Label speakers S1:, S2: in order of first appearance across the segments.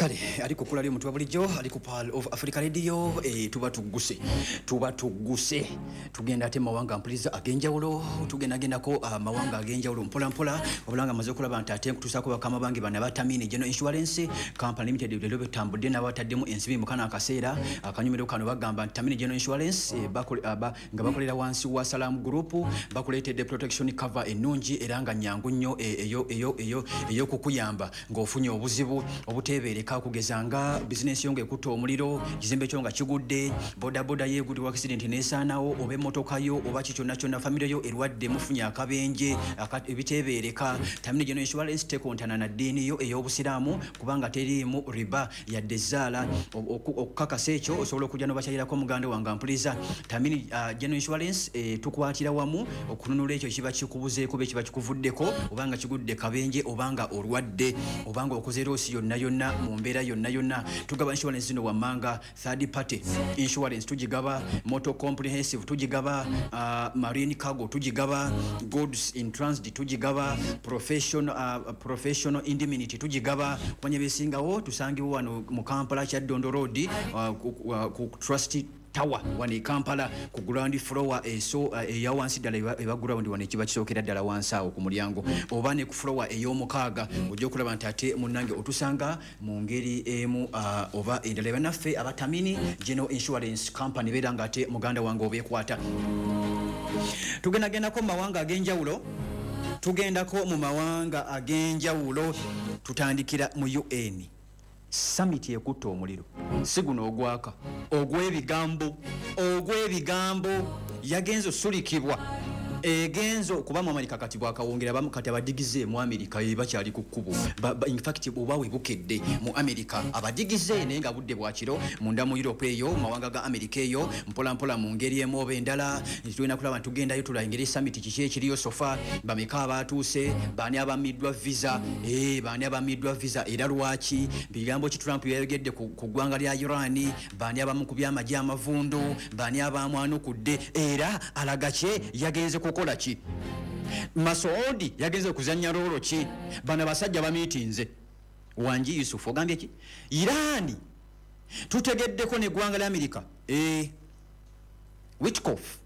S1: Kale ali ku kkula ly'omuntu wa bulijjo, ali ku Pearl of Africa Radio. Tuba tugguse, tugenda ate mawanga mpuliza ag'enjawulo, tugendagendako amawanga ag'enjawulo mpola mpola, wabula nga maze okulaba nti ate nkutuusaako bakama bange bano abatamini General Insurance Company Limited. Leero betambudde n'abataddemu ensimbi mu kano akaseera akanyumiro kano. Bagamba nti Tamini General Insurance, nga bakolera wansi wa Salam Group, bakuleetedde protection cover ennungi era nga nyangu nnyo, ey'okukuyamba ng'ofunye obuzibu obuteebeereka, kugeza nga bizinensi yo ng'ekutta omuliro, kizimbe kyo nga kigudde, bodaboda yo egudde accident n'esaanawo, oba emmotoka yo, oba ki kyonna kyonna, famire yo erwadde, mufunye akabenje ebiteebeereka. Tamini General Insurance tekontana na ddiini yo ey'Obusiraamu, kubanga teriimu riba yadde zaala. Okukakasa ekyo, osobola okujja n'obakyalirako. Muganda wange ampuliza, Tamini General Insurance, tukwatira wamu okununula ekyo kiba kikubuzeeko oba ekiba kikuvuddeko, oba nga kigudde kabenje, oba nga olwadde, oba nga okoze loss yonna yonna, mu mbeera yonna yonna. Tugaba insurance zino wammanga: third party insurance tugigaba, motor comprehensive tugigaba, marine cargo tugigaba, goods in transit tugigaba, professional indemnity tugigaba. Kumanya besingawo, tusangibwa wano mu Kampala, Kyaddondo Road, ku Trust Tower wano e Kampala, ku ground floor eso eya wansi ddala, eba ground wano ekiba kisookera ddala wansi awo ku mulyango, oba ne ku floor ey'omukaaga. Ojja okulaba nti ate munnange otusanga mu ngeri emu oba endala. Bannaffe abatamini General Insurance Company, beera nga ate muganda wange obeekwata. Tugendagendako mu mawanga ag'enjawulo, tugendako mu mawanga ag'enjawulo. Tutandikira mu UN summit ekutta omuliro, si guno ogwaka, ogw'ebigambo, ogw'ebigambo. Yagenze osulikibwa, egenzo okuba mu Amerika kati bwakawongera abamu. Kati abadigize mu Amerika bakyali ku kkubo. In fact, oba webukedde mu Amerika abadigize, naye nga budde bwakiro munda mu Europe eyo, mu mawanga ga Amerika eyo, mpola mpola mu ngeri emu oba endala tulina kulaba nti tugendayo tulaba engeri summit kiki ekiriyo so far, bameka abatuuse, baani abamiddwa visa, baani abamiddwa visa era lwaki, bigambo ki Trump yayogedde ku ggwanga lya Iran, baani abamu ku byamagye amavundu, baani abamwanukudde, era alaga kye yagenze kukola ki, Masoudi yagenze kuzanya role ki. Bano abasajja bamiitinze. Wangi Yusufu, ogambye ki? Irani tutegeddeko neggwanga lya Amerika, Witkoff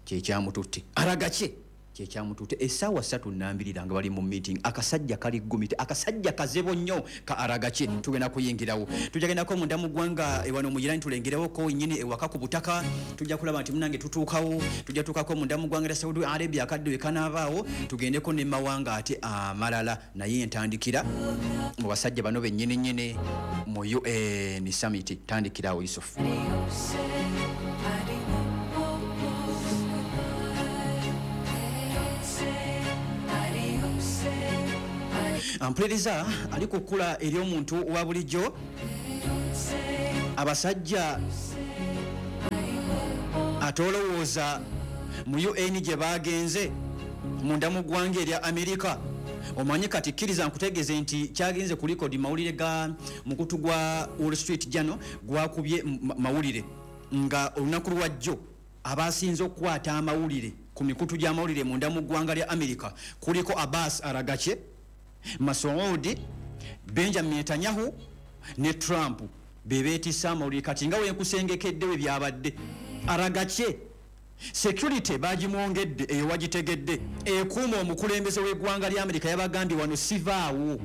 S1: kyekyamututte, alaga kye kyekyamututte. Essaawa 3 nambirira nga bali mu meeting. Akasajja kali gumite, akasajja kazebo nnyo ka Aragaki. Tugenda kuyingirawo, tujagendako munda mu ggwanga ewano mu Irani, tulengerewoko nyini ewaka ku butaka. Tujja kulaba nti munange tutuukawo, tujja tuukako munda mu ggwanga lya Saudi Arabia, akadde we kanaabaawo, tugendeko ne mawanga ate amalala. Naye ntandikira mu basajja bano bennyini nnyini mu UN summit. Tandikirawo, Yusufu.
S2: Adios, adios, goodbye. Don't say adios, adios.
S1: Ampuliriza ali ku kkula ery'omuntu wa bulijjo.
S2: Don't say
S1: Abasajja ate olowooza mu UN gye bagenze munda mu ggwanga erya Amerika, omanyi kati kkiriza nkutegeeze nti kyagenze ku record mawulire ga mukutu gwa Wall Street Journal gwakubye mawulire nga olunaku lwajjo abasinze okukwata amawulire ku mikutu gy'amawulire munda mu ggwanga lya Amerika kuliko Abbas Aragache, Masoudi, Benjamin Netanyahu ne Trump, bebeetisa amawulire. Kati nga wenkusengekedde we byabadde, Aragache security bagimwongedde, eyo wagitegedde, ekuuma omukulembeze w'eggwanga lya Amerika. Yabagambye, "Wano sivaawo,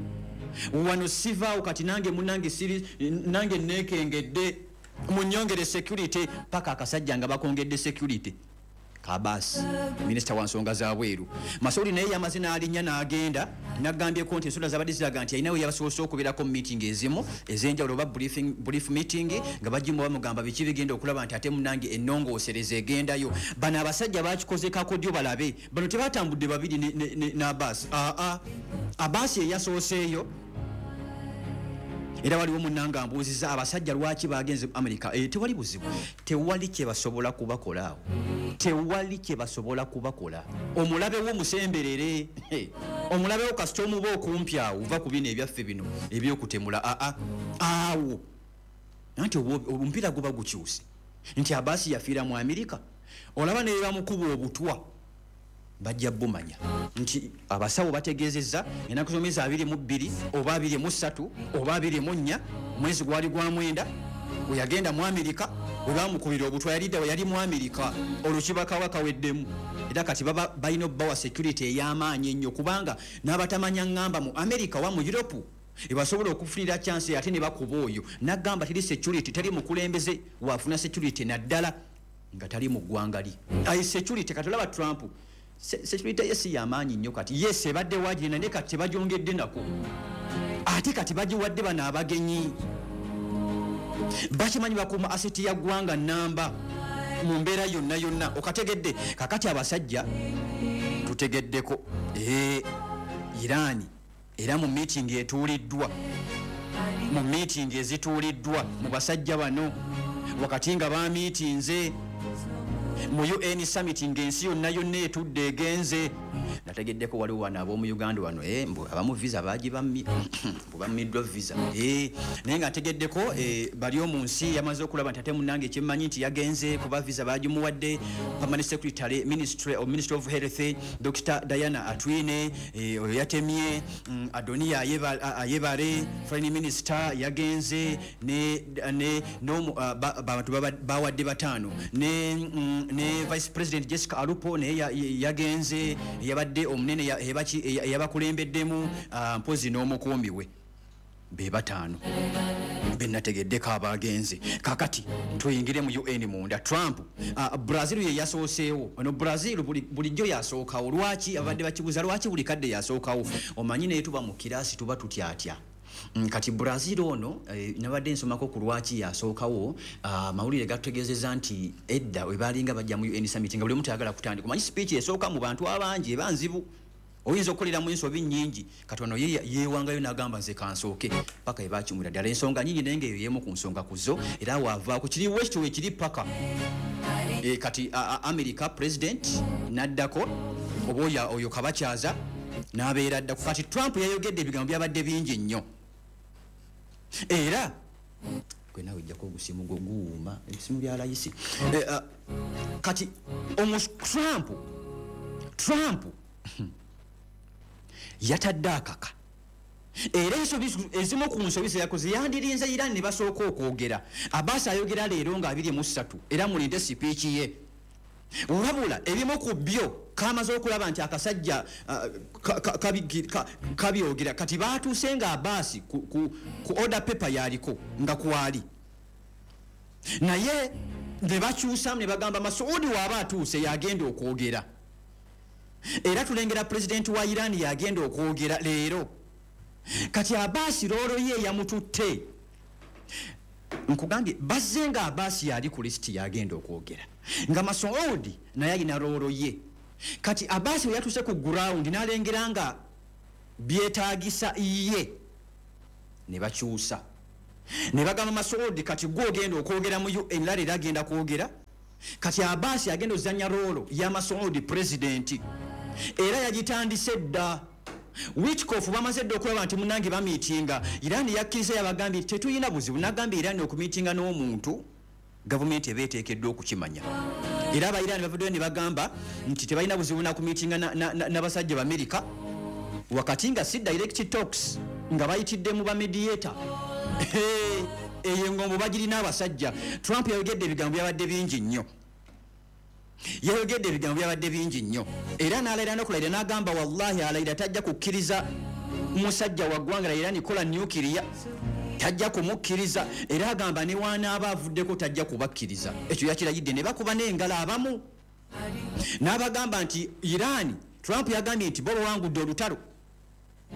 S1: wano sivaawo. Kati nange munange siri nange neekengedde, munyongere security." Paka akasajja nga bakongedde security Kabasi, minisita wa nsonga za bweru. Masouli naye yamaze n'alinnya n'agenda, nagambyeko nti ensonda zabadde ziraga nti alinawe yabasoose okubeerako mu meeting ezimu ez'enjawulo oba brief meeting, nga bagimu bamugamba biki bigenda okulaba nti ate munange ennongoosereza egendayo. Bano abasajja bakikoze kakodyo, balabe bano tebatambudde babiri n'Abasi. Aa, Abasi eyasooseeyo. Era waliwo munnanga ambuuziza abasajja lwaki bagenze Amerika. Tewali buzibu, tewali kyebasobola kubakola awo, tewali kyebasobola kubakola. Omulabe wo musemberere, omulabe wo kasita omuba okumpi awo, uva ku bino ebyaffe bino ebyokutemula. Aa, awo anti omupiira guba gukyuse nti Abasi yafiira mu Amerika, olaba nebamukuba obutwa. Bajja bumanya nti abasawo bategeezezza ennaku z'omwezi 22 oba 23 oba 24, mwezi gwali gwa 9, we yagenda mu Amerika, we bamukubira obutwa, yalidda we yali mu Amerika, olwo kibakawa kaweddemu. Era kati baba balina obbawa security ey'amaanyi ennyo, kubanga n'abatamanya ŋŋamba mu Amerika wa mu Europe ebasobola okufunira chance ate ne bakuba oyo. Nagamba teri security, teri mukulembeze wafuna security naddala nga tali mu ggwanga lye. Ayi security, kati olaba Trump security ye si yamaanyi nnyo. Kati yes, ebadde wagirina, naye kati tebagyongedde nako, ate kati bagiwadde bano abagenyi bakimanyi bakuuma asset ya ggwanga namba mu mbeera yonna yonna. Okategedde? Kakati abasajja tutegeddeko Iran era mu meeting etuuliddwa, mu meeting ezituuliddwa mu basajja bano, wakati nga bamiitinze mu UN summit ng'ensi yonna yonna etudde egenze. Nategeddeko waliwo wano ab'omu Uganda wano, mbu abamu visa bagibammye, mbu bammiddwa visa, naye nga ntegeddeko bali omu nsi yamaze okulaba nti ate munnange kyemmanyi nti yagenze kuba visa bagimuwadde. Permanent Secretary, Ministry of, Ministry of Health, Dr Diana Atwine, oyo yatemye. Adonia Ayebare, Foreign Minister, yagenze ne n'omu bantu bawadde bataano, ne Vice President Jessica Alupo naye yagenze, yabadde omunene eyabakulembeddemu, mpozi n'omukuumi we, be bataano benategeddeko abagenze. Kakati tuyingire mu UN munda. Trump, Brazil ye yasooseewo. Ono Brazil bulijjo yasookawo. Lwaki? Abadde bakibuuza lwaki buli kadde yasookawo. Omanyi naye tuba mu kirasi tuba tutyatya. Kati Brazil ono, nabadde nsomako ku lwaki yasookawo. Mawulire gatutegeezeza nti edda we balinga bajja mu UN summit nga buli omu tayagala kutandika. Omanyi speech esooka mu bantu abangi eba nzibu, oyinza okukoleramu ensobi nnyingi. Kati ono ye yeewangayo n'agamba nze kansooke, paka ebakimwira ddala. Ensonga nnyingi, naye ngaeyo y'emu ku nsonga ku zo, era waavaako kiri wekityo wekiri paka kati America president n'addako, oba oyo kabakyaza n'abeera addako. Kati Trump yayogedde ebigambo byabadde bingi nnyo, era gwe naawe ojjako ogusimu gwo guwuuma ebisimu bya layisi. Kati omu Trump yatadde akaka, era ensobi ezimu ku nsobi zeyakoze, yandirinze Iran ne basooka okwogera. Abbas ayogera leero nga 23, era mulinde speech ye. Wabula ebimu ku byo kamaze okulaba nti akasajja kabyogera. Kati batuuse nga Abbas ku order paper yaliko nga kwali, naye ne bakyusamu ne bagamba Masuudi waaba atuuse yagenda okwogera. Era tulengera pulezidenti wa Iran yagenda okwogera leero. Kati Abbas role ye yamututte. Nkugambye bazze nga Abbas yali ku lisiti yagenda okwogera, nga Masuudi naye alina role ye. Kati Abbas bwe yatuuse ku ground n'alengera nga byetaagisa ye, ne bakyusa ne bagamba Masuudi kati gwe ogenda okwogera mu UN, leero agenda kwogera. Kati Abbas agenda ozanya role ya Masuudi pulezidenti, era yagitandise dda. Witkoff bamaze dda okulaba nti munange bamiitinga. Iran yakkiriza, yabagambye tetulina buzibu. Nagambye Iran okumiitinga n'omuntu gavumenti eba eteekeddwa okukimanya, era aba Iran bavuddeyo ne bagamba nti tebalina buzibu nakumiitinga n'abasajja b'Amerika, wakati nga si direct talks, nga bayitidde mu bamediator. Eyo engombo bagirina abasajja. Trump yayogedde ebigambo byabadde bingi nnyo, yayogedde ebigambo byabadde bingi nnyo, era n'alayira n'okulayira n'agamba wallahi alayira tajja kukkiriza musajja wa ggwanga la Iran kola nuclear, tajja kumukkiriza. Era agamba ne wanaaba avuddeko tajja kubakkiriza. Ekyo yakirayidde ne bakuba n'engalo abamu n'abagamba nti Iran, Trump yagambye nti bo bawangudde olutalo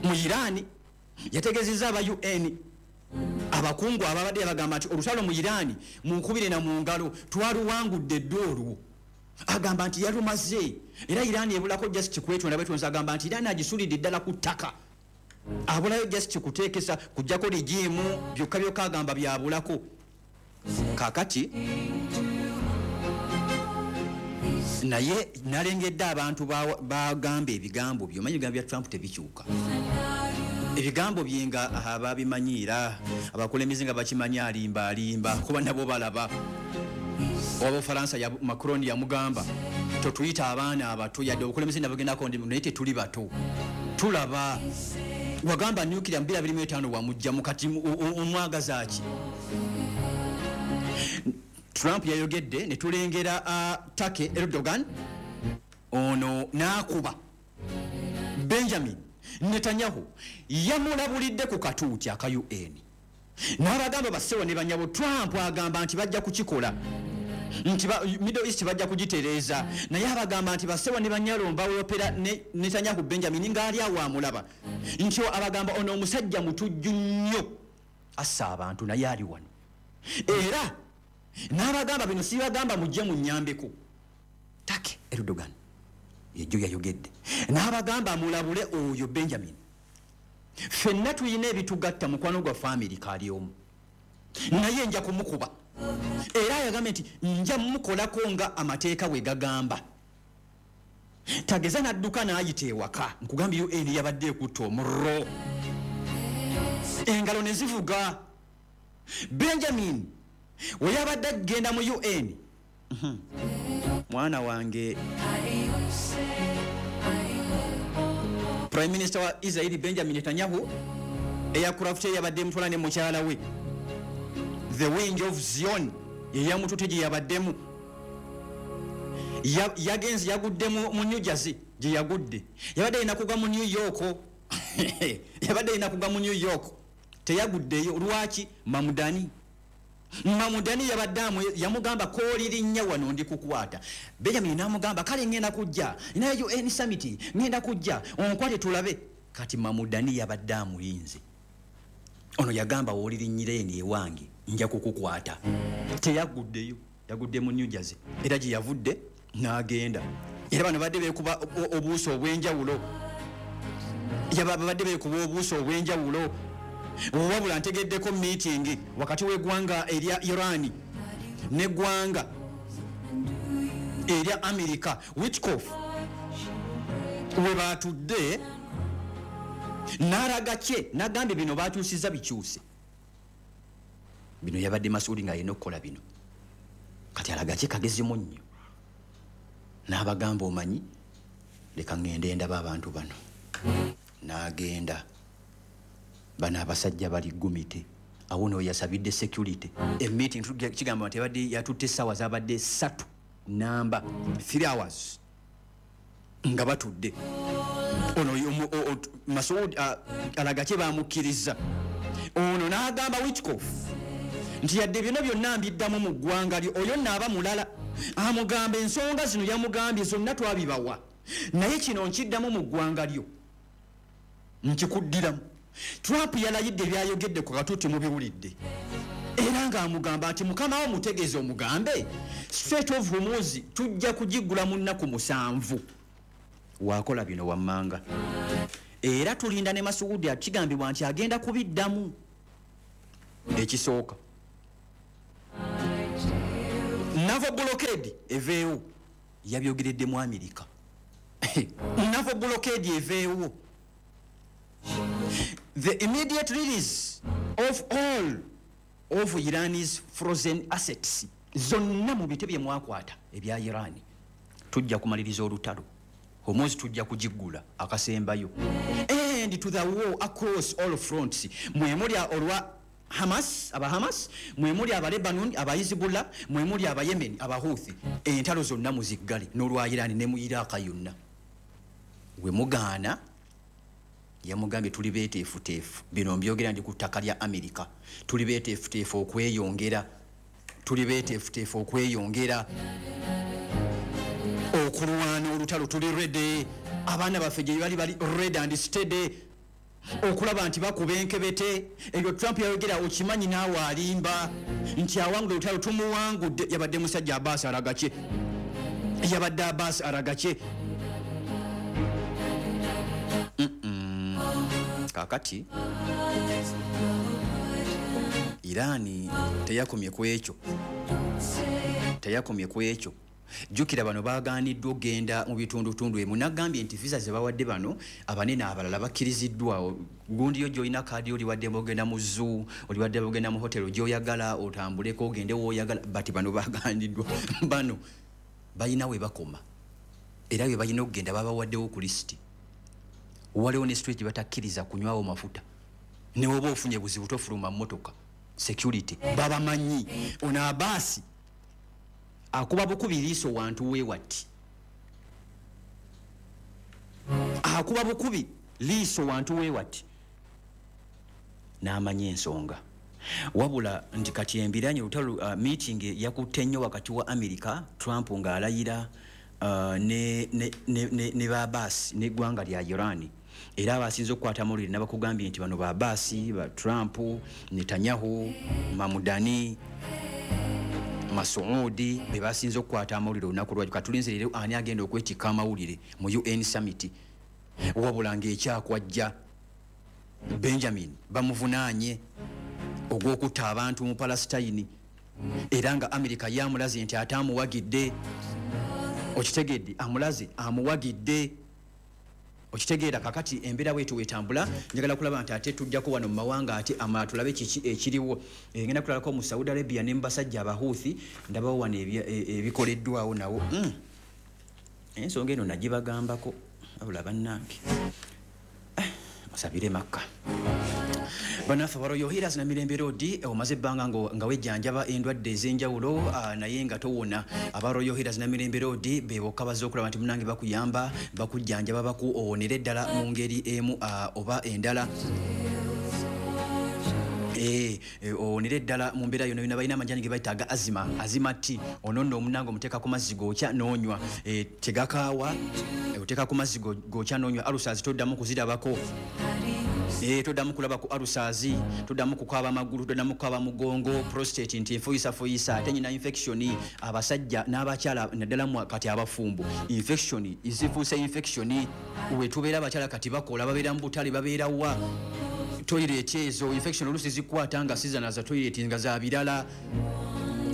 S1: mu Iran. Yategeezezza aba UN abakungu ababadde, yabagamba nti olutalo mu Iran munkubire na mu ngalo, twaluwangudde dda olwo. Agamba nti yalumaze, era Iran ebulako just kwetonda bwetonzi. Agamba nti Iran agisulidde ddala ku ttaka, abulayo just kuteekesa kujjako regime byokka byokka, agamba byabulako. Kakati naye nalengedde abantu bagamba ebigambo byo, omanyi ebigambo bya Trump tebikyuka, ebigambo bye nga babimanyiira abakulembeze nga bakimanyi alimba alimba, kuba nabo balaba. Owa Bufalansa ya Macron yamugamba, totuyita abaana abato, yadde obukulembeze nabugendako ndi, naye tetuli bato, tulaba. Wagamba nuclear 2025 wamugjamu, kati omwagaza ki? Trump yayogedde ne tulengera Turkey Erdogan ono n'akuba Benjamin Netanyahu, yamulabulidde ku katuuti aka UN n'abagamba, bassewo ne banyabo, Trump agamba nti bajja kukikola, nti Middle East bajja kugitereeza, naye abagamba nti bassewo ne banyalo mbawolopera ne Netanyahu Benjamin ng'ali awo amulaba, nti abagamba ono omusajja mutujju nnyo, assa abantu, naye ali wano. Era n'abagamba bino sibagamba mujje munnyambeko. Turkey Erdogan yejjo yayogedde n'abagamba mulabule oyo Benjamin, ffenna tulina ebitugatta, mukwano gwaffe Amerika ali omu, naye nja kumukuba. Era yagambye nti nja mukolako nga amateeka bwe gagamba. Tageza n'adduka n'ayita ewaka. Nkugambye UN yabadde ekutta omuliro, engalo ne zivuga. Benjamin we yabadde agenda mu UN, mwana wange, Prime Minister wa Israeli Benjamin Netanyahu, aircraft ye yabadde emutwala ne mukyala we, the Wing of Zion, yeyamutute gye yabaddemu. Yagenze yagudde mu New Jersey gye yagudde. Yabadde alina kugwa mu New York, yabadde alina kugwa mu New York, teyaguddeyo. Lwaki? Mamudani, Mamudani yabadde yamugamba koolirinnya wano ndi kukwata. Benjamin n'amugamba kale ngenda kujja naye UN summit, ngenda kujja onkwate tulabe. Kati Mamudani yabadde amulinze ono, yagamba woolirinnyira eno ewange nja kukukwata. Teyaguddeyo, yagudde mu New Jersey, era gye yavudde n'agenda. Era bano badde beekuba obuuso obw'enjawulo, babadde beekuba obuuso obw'enjawulo. Wabula ntegeddeko meeting wakati w'eggwanga erya Iran n'eggwanga erya America, Witkoff we batudde n'alaga kye n'agambye bino bakyusiza bikyuse bino, yabadde Masuuli ng'alina okukola bino, kati alaga kye kagezimu nnyo n'abagamba, omanyi, leka ŋŋende ndaba abantu bano. N'agenda, bano abasajja bali gumite awo no yasabidde security. Emeeting kigamba nti ebadde yatutte essaawa zabadde 3 namba, 3 hours nga batudde. Ono Masud alaga kye bamukkiriza ono n'agamba Witkoff nti yadde byonna byonna mbiddamu mu ggwanga lyo, oyo nnaaba mulala amugamba ensonga zino yamugambye zonna twabibawa, naye kino nkiddamu mu ggwanga lyo, nkikuddiramu. Trump yalayidde byayogedde ku katuuti mubiwulidde, era ng'amugamba nti mukama wo mutegeeze omugambe Strait of Hormuz tujja kugiggula mu nnaku 7 wakola bino wammanga. Era tulinda ne Masuudi kigambibwa nti agenda kubiddamu. Ekisooka, naval blockade eveewo, yabyogeredde mu Amerika, naval blockade eveewo, the immediate release of all of Iran's frozen assets, zonna mu bite bye mwakwata ebya Iran, tujja kumaliriza olutalo, Hormuz tujja kugiggula akasembayo, and to the war across all fronts, mwe muli olwa Hamas, aba Hamas, mwe muli aba Lebanon, aba Hezbollah, mwe muli aba Yemen, aba Houthi, entalo zonna muziggale n'olwa Iran ne mu Iraq yonna. We mugaana, yamugambye tuli beeteefuteefu, bino mbyogera ndi ku ttaka lya Amerika, tuli beeteefuteefu okweyongera, tuli beeteefuteefu okweyongera okulwana olutalo, tuli ready, abaana baffe gye bali bali ready and steady okulaba nti bakuba enkebete. Ebyo Trump yayogera okimanyi naawe alimba nti awangudde olutalo, tumuwangudde. Yabadde musajja Abbas Aragaki, yabadde Abbas Aragaki. Kakati Irani teyakomye ku ekyo, teyakomye ku ekyo. Jjukira bano baagaaniddwa okugenda mu bitundutundu emu. Nagambye nti visa ze bawadde bano abanene, abalala bakkiriziddwa. Gundi yo gy'olina kaadi, oli waddembe ogenda mu zoo, oli waddembe ogenda mu hotero gy'oyagala, otambuleko ogende w'oyagala, but bano bagaaniddwa. Bano balina we bakoma era we balina okugenda, babawaddewo ku lisiti. Waliwo ne street batakkiriza kunywawo mafuta, newoba ofunye buzibu tofuluma mmotoka. Security babamanyi. Ono Abaasi akuba bukubi liiso wantu weewati, akuba bukubi liiso wantu weewati n'amanya ensonga. Wabula nti kati embiranye olutalo, meeting yakutte nnyo wakati wa America, Trump ng'alayira, ne babaasi n'eggwanga lya Iran. Era abasinze okukwata amawulire nabakugambye nti bano babaasi ba Trump, Netanyahu, Mamudani, Masuudi be basinze okukwata amawulire olunaku lwaki. Katulinze leero ani agenda okwetikka amawulire mu UN summit. Wabula ng'ekyakwajja Benjamin bamuvunaanye ogw'okutta abantu mu Palestine, era nga Amerika yamulaze nti ate amuwagidde. Okitegedde? Amulaze amuwagidde, okitegeera? Kakati embeera bwetu wetambula, njagala kulaba nti ate tujjako wano mu mawanga ate amalala, tulabe kiki ekiriwo. Ngenda kulalako mu Saudi Arabia ne mubasajja Abahuuthi, ndabawo wano ebikoleddwawo nawo. Ensonga eno nagibagambako, wabula bannange, musabire Makka. Bannaffe aba Royal Healers na Mirembe Road, omaze ebbanga nga wejjanjaba endwadde ez'enjawulo, naye nga towona. Aba Royal Healers na Mirembe Road be bokka bazze okulaba nti munange bakuyamba, bakujjanjaba, bakuowonera eddala mu ngeri emu oba endala. Owonera eddala mu mbeera yonna yonna. Balina amajani ge bayita aga asthma, asthma tea. Ono nno omunange omuteeka ku mazzi gokya n'onywa. Tegakaawa, oteeka ku mazzi gokya n'onywa. Ulcers toddamu kuzirabako. Toddamu kulaba ku ulcers, toddamu kukaaba amagulu, toddamu kukaaba mugongo, prostate nti enfuyisafuyisa, ate nyina infection. Abasajja n'abakyala naddala kati abafumbo, infection zifuuse infection. Wetubeera abakyala kati bakola, babeera mu butale, babeera wa toilet, ezo infection oluusi zikwata nga sizana za toilet nga za birala.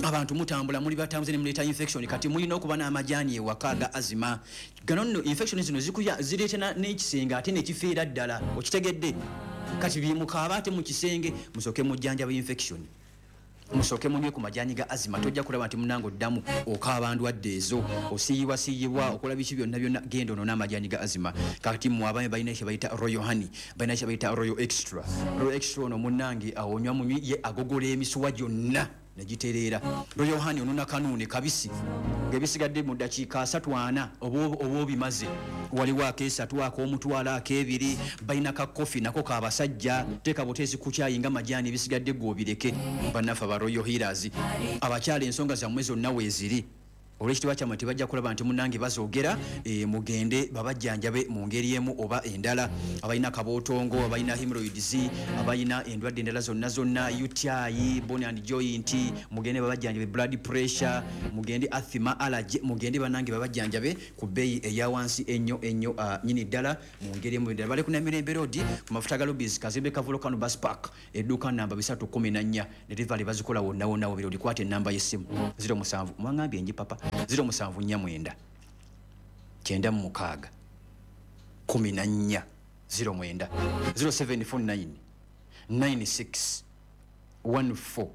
S1: Abantu mutambula, muli batambuze ne muleeta infection. Kati mulina okuba n'amajaani ewaka aga asthma. Gano nno infection zino zikuya zireeta n'ekisenge ate nekifeera ddala. Okitegedde? Kati byemukaaba ate mu kisenge, musooke mujjanjaba infection, musooke munywe ku majaani ga asthma. Tojja kulaba nti munange oddamu okaaba ndwadde ezo, osiiyibwa siiyibwa, okola biki byonna byonna. Genda ono n'amajaani ga asthma. Kati mmwe abaami balina kye bayita Royal Honey, balina kye bayita Royal Extra. Royal Extra ono munnange awonywa munywi, ye agogola emisuwa gyonna negitereera. Royal Honey onona kanuune kabisi ng'ebisigadde mu ddakiika 34 oba obimaze. Waliwo akesatu, ak'omutwalo, ak'ebiri. Balina ka kofi nako kabasajja, teeka buteesi ku kyayi nga majaani, ebisigadde gwe obireke. Bannaffe aba Royal Healers, abakyala ensonga zammwe zonna weeziri. Olw'ekitiibwa kyammwe tebajja kulaba nti munnange bazoogera. Mugende babajjanjabe mu ngeri emu oba endala. Abalina kabootongo, abalina hemorrhoids, abalina endwadde endala zonna zonna, UTI, bone and joint, mugende babajjanjabe. Blood pressure mugende, asthma, allergy mugende bannange babajjanjabe ku bbeeyi eya wansi ennyo ennyo, nyini ddala mu ngeri emu endala. Bali ku Namirembe Road ku mafuta ga Lubis, kazimbe ka Volcano Bus Park, edduuka namba 314. Delivery bazikola wonna wonna wobiri. Olikwata enamba y'essimu 07, mwangambye enji papa, 0749 96 14 09, 0749 96 14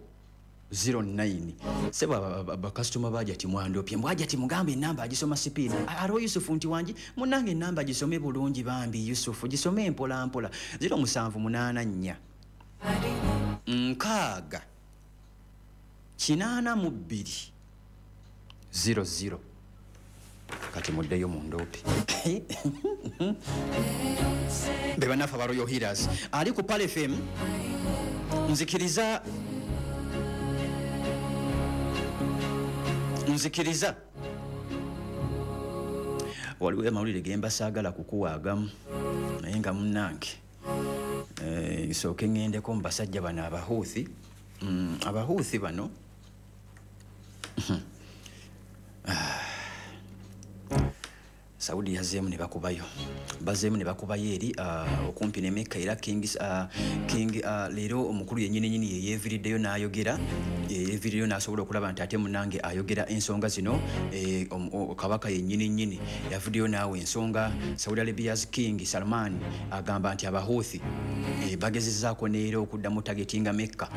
S1: 09. Sebo, bakasitoma baja ti mwandopye, mbwaja ti mugambe enamba agisoma sipiidi. Aliwo Yusufu nti wangi munange, enamba gisome bulungi bambi. Yusufu, gisome mpola mpola. 0784 6 82 00. Kati muddeyo mu ndoope. Be bannaffe aba Royal Healers. Ali ku Pal FM, nzikiriza waliwo amawulire ge mbasaagala kukuwaagamu, naye nga munnange, nsooke ŋŋendeko mu basajja bano Abahuuthi. Abahuuthi bano, Saudi yazeemu ne bakubayo, bazeemu ne bakubayo eri okumpi ne Mecca. Era King leero omukulu yennyini nyini yeyeeviriddeyo n'ayogera, yeyeeviriddeyo n'asobola okulaba nti ate munange ayogera ensonga zino. Kabaka yennyini nyini yavuddeyo naawe ensonga. Saudi Arabia's King Salman agamba nti Abahuthi bagezezzaako neera okuddamu targetinga Mecca,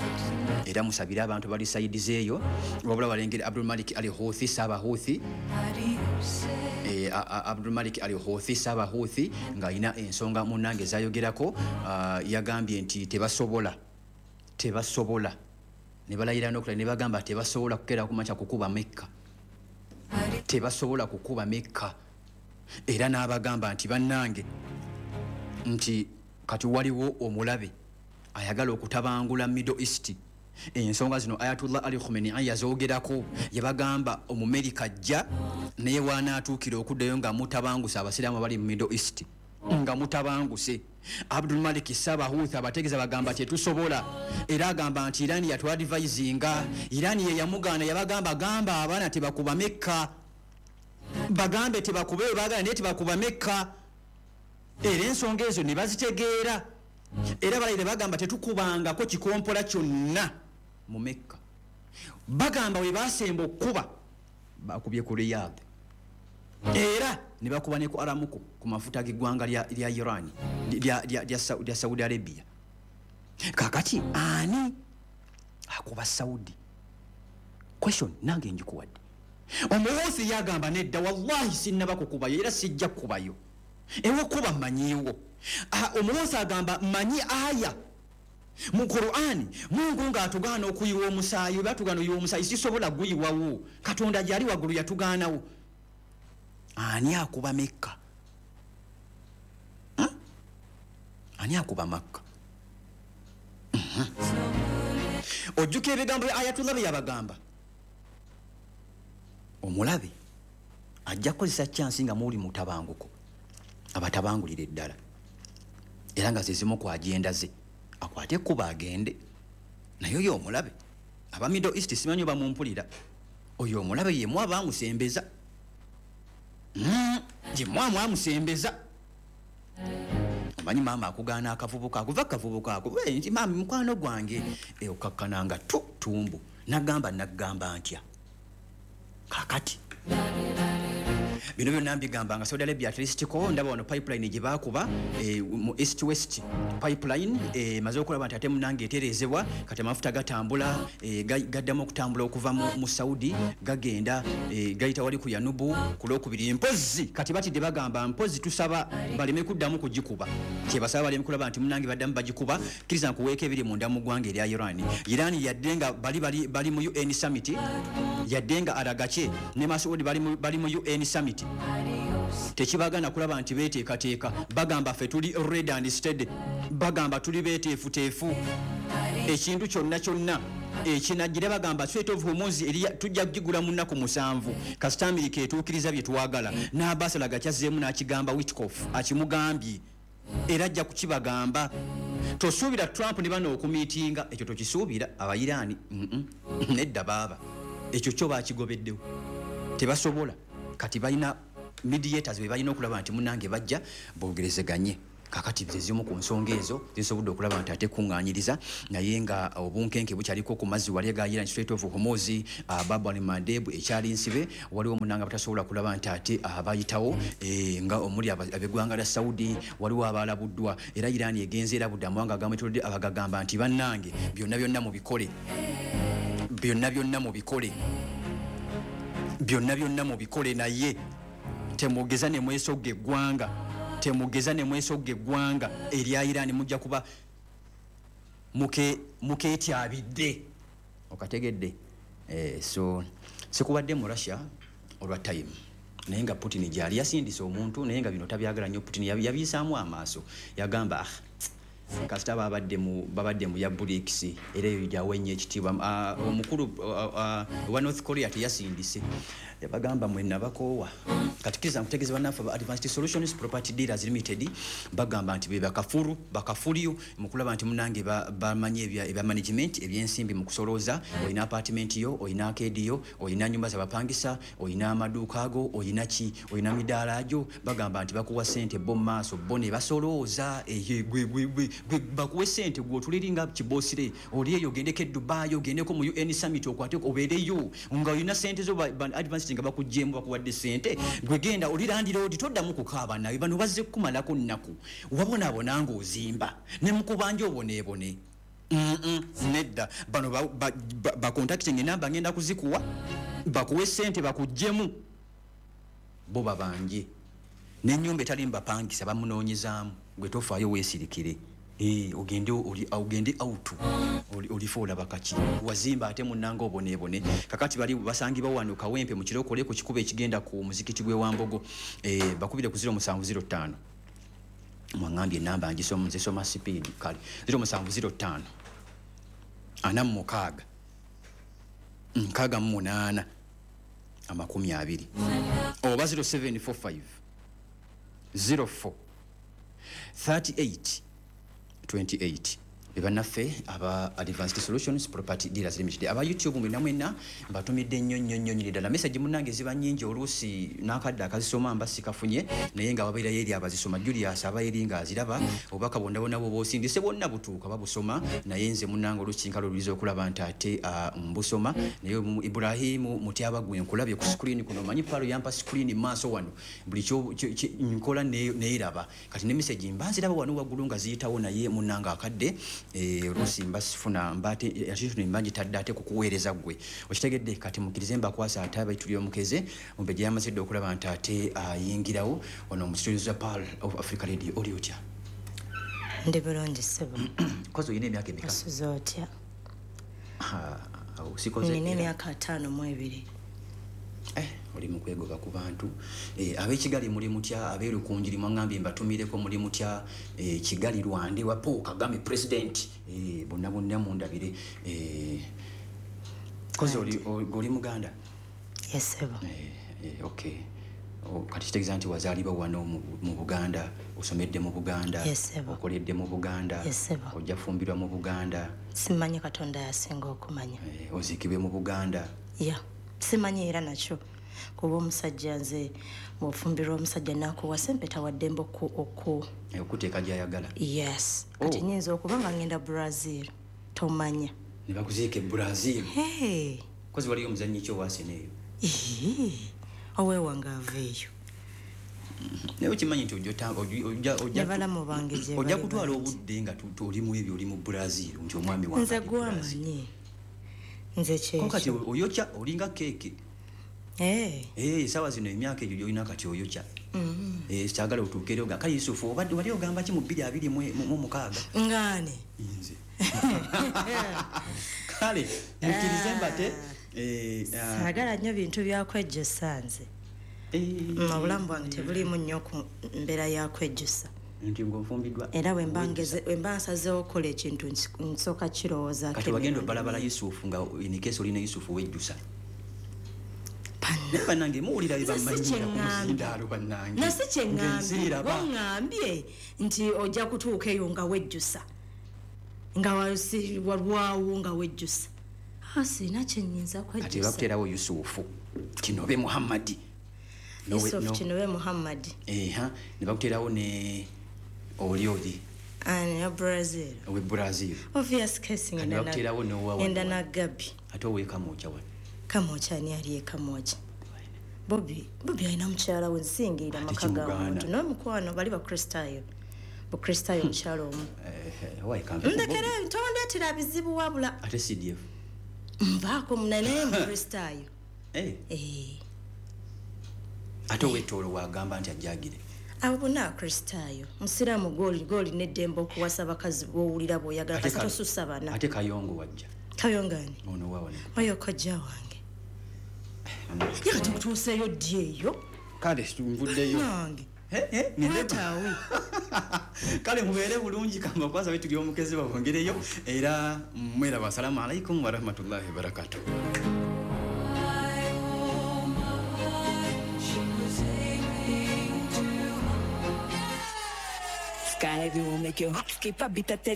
S1: era musabire abantu bali side zeeyo. Wabula balengere Abdul Malik Al Houthi, Saabahuthi, Abdulmalik Al Houthi, Saabahuthi, ng'alina ensonga munnange zayogerako. Yagambye nti tebasobola, tebasobola, ne balayira n'okulala ne bagamba tebasobola kukeera kumakya kukuba Mekka, tebasobola kukuba Mekka. Era n'abagamba nti bannange, nti kati waliwo omulabe ayagala okutabangula Middle East. Ensonga zino Ayatullah Ali Khamenei yazoogerako, yabagamba Omumerika ajja, naye wanaatuukira okuddayo nga mutabanguse Abasiraamu abali mu Middle East, nga mutabanguse. Abdulmalik Sabahuth abategeeza, bagamba tetusobola. Era agamba nti Irani yatwadvisinga, Irani ye yamugaana, yabagamba, gamba abaana tebakuba Mekka, bagambe tebakube, bagala naye tebakuba Mekka. Era ensonga ezo ne bazitegeera, era balayire bagamba tetukubangako kikompola kyonna mu Mekka. Bagamba we basemba okkuba bakubye ku Riyadh, era ne bakuba ne ku Aramco, ku mafuta g'eggwanga lya Iran, lya Saudi Arabia. Kakati ani akuba Saudi? Question nange njikuwadde. Omuwuusi yagamba nedda, wallahi sinnaba kukubayo era sijja kukubayo, ewokuba mmanyiiwo. Omuwuusi agamba mmanyi aya mu Qur'ani, Mungu ng'atugaana okuyiwa omusaayi. Oba atugaana oyiwa omusaayi, sisobola guyiwawo. Katonda gyali waggulu yatugaanawo. Ani akuba Mekka? Ani akuba Makka? Ojjukira ebigambo bya Ayatullah bye yabagamba, omulabe ajja kukozesa chance nga muli mutabanguko abatabangulira eddala, era nga zezimu ku agenda ze akwate ekkuba agende naye. Oyo omulabe, aba Middle East, simanyi oba mumpulira, oyo omulabe yemu abamusembeza, yemu amwamusembeza. Omanyi maama akugaana akavubuka ako, va kavubuka ako. "Eh, nti maama mukwano gwange." Eh, okakkananga tu tumbu nagamba nagamba ntya. Kakati bino byonna mbigamba nga Saudi Arabia at least ko ndaba wano pipeline gye baakuba, mu East West Pipeline, maze okulaba nti ate munange etereezebwa. Kati amafuta gatambula, gaddamu okutambula okuva mu Saudi, gagenda, gayita wali ku Yanubu ku Lwokubiri. Mpozi kati batidde, bagamba mpozi tusaba baleme kuddamu kugikuba, kyebasaba baleme kulaba nti munange baddamu bagikuba. Kkiriza nkuweeko ebiri munda mu ggwanga erya Iran. Iran yadde nga bali mu UN summit, yadde nga Araghchi ne Masoudi bali mu UN summit, tekibagana kulaba nti beteekateeka. Bagamba ffe tuli ready and steady, bagamba tuli beteefuteefu ekintu kyonna kyonna ekinajjira. Bagamba Strait of Hormuz tujja kugigula mu nnaku 7 kasita Amerika etuukiriza bye twagala. N'Abbas Araghchi n'akigamba Witkoff, akimugambye era ajja kukibagamba. Tosuubira Trump ne bano okumiitinga, ekyo tokisuubira. Abairaani nedda baaba, ekyo kyo bakigobeddewo, tebasobola. Kati balina mediators be balina okulaba nti munange bajja bogerezeganye. Kakati zezimu ku nsonga ezo zisobodde okulaba nti ate kuŋŋaanyiriza, naye nga obunkenke bukyaliko ku mazzi wali aga Iran, Strait of Hormuz, Bab al Mandeb ekyali nsibe. Waliwo munanga batasobola kulaba nti ate abayitawo, nga omuli ab'eggwanga lya Saudi, waliwo abalabuddwa. Era Iran egenze erabudde amawanga agamwetolodde, abagagamba nti bannange, byonna byonna mubikole, byonna byonna mubikole, byonna byonna mubikole, naye temugeza ne mwesogga eggwanga, temugeza ne mwesogga eggwanga erya Iran, mujja kuba mukeetyabidde. Okategedde? So sikubadde mu Russia olwa time, naye nga Putin gyali yasindise omuntu, naye nga bino tabyagala nnyo. Putin yabiyisaamu amaaso, yagamba ah, Kasita babadde mu ya BRICS, era eyo gyawenye ekitiibwa. Omukulu wa North Korea teyasindise, yabagamba mwenna bakoowa. Kati kkiriza nkutegeeza bannaffe aba Advanced Solutions Property Dealers Limited, bagamba nti be bakafuru bakafulyo mu kulaba nti munange bamanyi ebya management, ebyensimbi mu kusolooza. Olina apartment yo, olina arcade yo, olina nyumba zabapangisa, olina amaduuka ago, olina ki, olina midaala gyo, bagamba nti bakuwa sente bo mu maaso, bo ne basolooza. Eyo gwe bakuwe sente, gwe otuliringa kibosire oli eyo, ogendeko e Dubai, ogendeko mu UN summit, okwate obeereyo nga olina sente zo. Advanced nga bakugyemu, bakuwadde sente, gwe genda oli landlord, toddamu kukaaba. Nawe bano bazze kukumalako nnaku, wabonaabona ng'ozimba ne mukubanja oboneebone. Nedda, bano bacontacting, enamba ngenda kuzikuwa, bakuwe sente bakugyemu, bo babanje n'ennyumba etali mubapangisa bamunoonyezaamu. Gwe tofaayo, weesirikire. Ogende ogende out, olifa olaba kaki wazimba ate munnanga oboneebone. Kakati bali basangibwa wano Kawempe mu Kirokole, ku kikubo ekigenda ku muzikiti gw'e Wambogo. Bakubire ku 0705. Mwaŋŋambye enamba ngisoma, nzisoma speed. Kale, 0705 46 68 20 oba 0745 04 38 28, be bannaffe aba Advanced Solutions Property Dealers Limited. Aba YouTube mwenna mwenna mbatumidde nnyo nnyo nnyo nnyo ddala. Message munnange ziba nnyingi, oluusi n'akadde akazisoma mba sikafunye, naye nga wabeerayo eri abazisoma. Julius aba eri ng'aziraba. Obubaka bwonna bwonna bwoba osindise bwonna butuuka, babusoma, naye nze munnange oluusi kinkala oluliza okulaba nti ate mbusoma. Naye Ibrahimu Mutyaba, gwe nkulabye ku screen kuno. Omanyi palo yampa screen maaso wano, buli nkola neeraba. Kati ne message mba nziraba wano waggulu nga ziyitawo, naye munnange akadde oluusi mba sifuna, mba ate attention mba ngitadde ate kukuweereza ggwe, okitegedde. Kati mukkirize mbakwasa ate abaituli omukeze Mumbejja yamaze dde okulaba nti ate ayingirawo wano mu studio za Pearl of Africa Radio. Oli otya?
S3: Ndi bulungi, ssebo.
S1: Kozi olina emyaka emeka?
S3: Osuze otya?
S1: Ah, awo sikoze.
S3: Nina emyaka 52.
S1: Oli mu kwegoba ku bantu. Ab'ekigali muli mutya? Ab'erukunjiri mwaŋŋambye mbatumireko, muli mutya? Kigali Rwanda wa Paul Kagame president, bonna bonna mundabire. Kozi oli muganda?
S3: Yes, ssebo.
S1: Okay. Kati kitegeeza nti wazaalibwa wano mu Buganda, osomedde mu Buganda,
S3: Yes, ssebo.
S1: okoledde mu Buganda,
S3: Yes, ssebo.
S1: ojja fumbirwa mu Buganda?
S3: Simanyi, Katonda yasinga okumanya.
S1: Oziikibwe mu Buganda?
S3: Ya, simanyi era nakyo, kuba omusajja, nze bw'ofumbirwa omusajja nakuwasa empeta, waddembe oku
S1: Okuteeka gy'ayagala.
S3: Yes. Kati
S1: Oh.
S3: nyinza okuba nga ngenda Brazil, tomanya.
S1: Ne bakuziika e Brazil?
S3: Hey.
S1: Kozi waliyo omuzannyi ki owaasena eyo?
S3: Ii, oweewange ava eyo.
S1: Naye okimanyi nti
S3: Ne balamu bange gye
S1: ojja
S3: bali
S1: kutwala
S3: bangi.
S1: obudde nga oli mu ebyo, oli mu Brazil, nti omwami wange
S3: Nze
S1: ali Brazil.
S3: gwamanyi, nze
S1: Ko kati
S3: kyekyo.
S1: oyokya, olinga keeke.
S3: Eh,
S1: Esaawa zino emyaka egyo gyolina kati oyokya. Kyagala otuuke ero ga kale. Yusufu, obadde wali ogamba ki mu 2026?
S3: Ngaani?
S1: Nze kale mukkirize mbate
S3: Saagala nnyo bintu byakwejjusa nze. Obulamu bwange tebuliimu nnyo ku mbeera yakwejjusa.
S1: Nti ng'onfumbiddwa.
S3: Era bwe mba nsazeewo okukola ekintu, nsooka kirowoozaako
S1: Kati wagenda
S3: emirundi
S1: obalabala
S3: mingi.
S1: Yusufu, nga in case olina Yusufu wejjusa. Naye bannange muwulira bye
S3: Nze si
S1: bamanyira ku
S3: kyeŋŋambye.
S1: muzindaalo bannange.
S3: Nasi kyeŋŋambye.
S1: Nziraba.
S3: Waŋŋambye nti ojja kutuuka eyo nga wejjusa, nga walwawo nga wejjusa. Ah, sirina kyenyinza
S1: Kati
S3: kwejjusa.
S1: bakuteerawo Yusufu Kinobe Muhammadi.
S3: Yusuf Kinobe Muhammadi.
S1: Eha, ne bakuteerawo ne oli
S3: Ani ya Brazil?
S1: Owe Brazil.
S3: Obvious case.
S1: Kati
S3: Ngenda na-
S1: bakuteerawo n'owa
S3: ngenda
S1: wano.
S3: na Gabi.
S1: Ate owekamwokya wano?
S3: Kamwokya, ani ali ekamwokya? Bobi, Bobi alina mukyala we, nsingirira
S1: Ate
S3: maka ga
S1: kimugaana.
S3: muntu n'omukwano, bali bakristaayo, bukristaayo, mukyala omu.
S1: Owaye kampe ku
S3: Ndekere,
S1: Bobi.
S3: tondeetera bizibu wabula.
S1: Ate CDF?
S3: Nvaako muna, naye mukristaayo. Eh,
S1: Ate owetoolo wagamba nti ajjagire?
S3: Abo bonna akristaayo. Musiraamu gwoli n'eddembe okuwasa abakazi b'owulira bw'oyagala,
S1: Ate
S3: kasi tosussa bana.
S1: Ate Kayongo wajja?
S3: Kayongani?
S1: Ono wa wano.
S3: Oyo kojja wange. Ye kati kutuuseeyo ddi eyo?
S1: Kale nvuddeyo.
S3: Nange
S1: Eh, eh, ngende-
S3: wataawe.
S1: Kale mubeere bulungi, kamba kwanza betuli omukezi babongereyo era mweraba. Assalamu alaikum warahmatullahi wabarakatuh.
S2: Oh my, she was aiming too high.
S4: Sky will make your heart skip a beat at the